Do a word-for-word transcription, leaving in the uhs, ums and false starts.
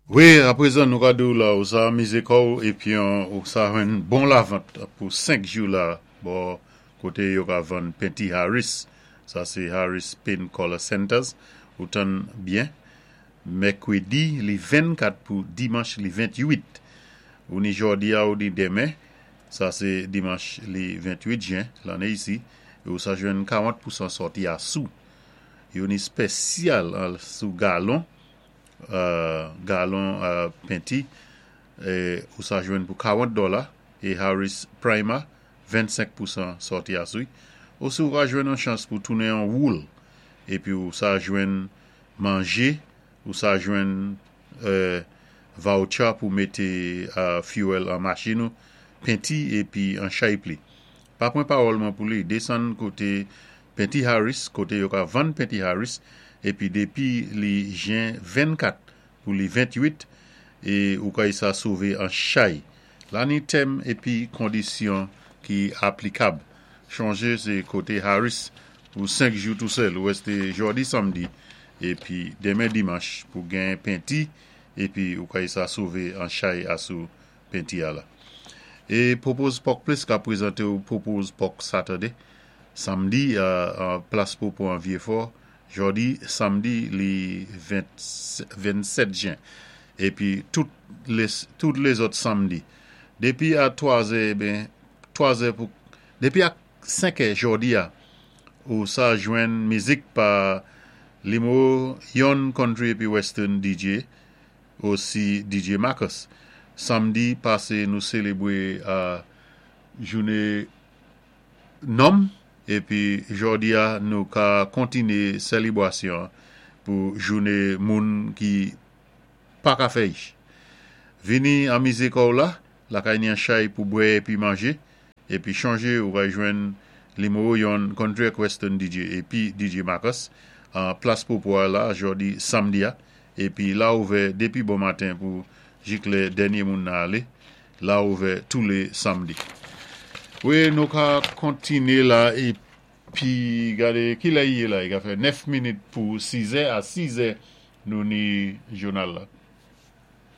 Wi, apwézan nou ka di-w la, ou sa anmizé kò-w épi ou sa jwenn bon lavant pou senk jou la bò koté yo ka vann penti Harris. Sa sé Harris Paint Color Centers. Ou tann byen. Mèkwédi li vennkat pou dimanch li ventwit. Ou ni jòdi a ou ni denmen. Sa sé dimanch li ventwit jen lanné isi. Ou sa jwenn karant pousan sòti asou. Yo ni spésyal sou galon galon penti, ou sa jwenn pou karant dola é Harris Primer vennsenk pousan sòti asou. Osi ou ka jwenn an chans pou tounen an woul épi ou sa jwenn manjé, ou sa jwenn voucher pou mété fuel an machin ou, penti épi an chay pli. Pa pran pawòl mwen pou li, désann koté penti Harris, koté yo ka vann penti Harris, épi dépi li jen vennkat pou li ventwit, é ou ka sa sové an chay. La ni tèm épi kondisyon ki aplikab. Chonjé sé koté Harris pou senk jou tou sèl, ou éské jòdi, samdi, épi denmen dimanch pou gen penti, épi ou ka sa sové an chay asou penti a la. É Popo's Pork Place ka pwézanté ou Popo's Pork Saturday, samdi an plas Popo an Vieux-Fort, jòdi, samdi li vennsèt jen, épi tout lézòt samdi. Dépi a twa zè, ben, twa zè pou, dépi a senk è jòdi a, ou sa jwenn mizik pa Limo Yon Country épi Western D J, osi D J Marcus. Samdi pasé nou sélébwé jouné nonm, épi jòdi a nou ka kontiné sélébwasyon pou jouné moun ki pa ka fè ich. Vini anmizé kò-w la, lakay ni an chay pou bwè épi manjé, épi chonjé ou va jwenn Limo Yon Country Western D J épi D J Marcus an plas Popo a la jòdi samdi a, épi la ouvè dépi bon maten pou jik lè dènyé moun nan alé, la ouvè tou lé samdi. Wi, nou ka kontiné la épi gadé ki lè i yé la, i ka fè nèf minit pou sizè, a sizè nou ni jounal la.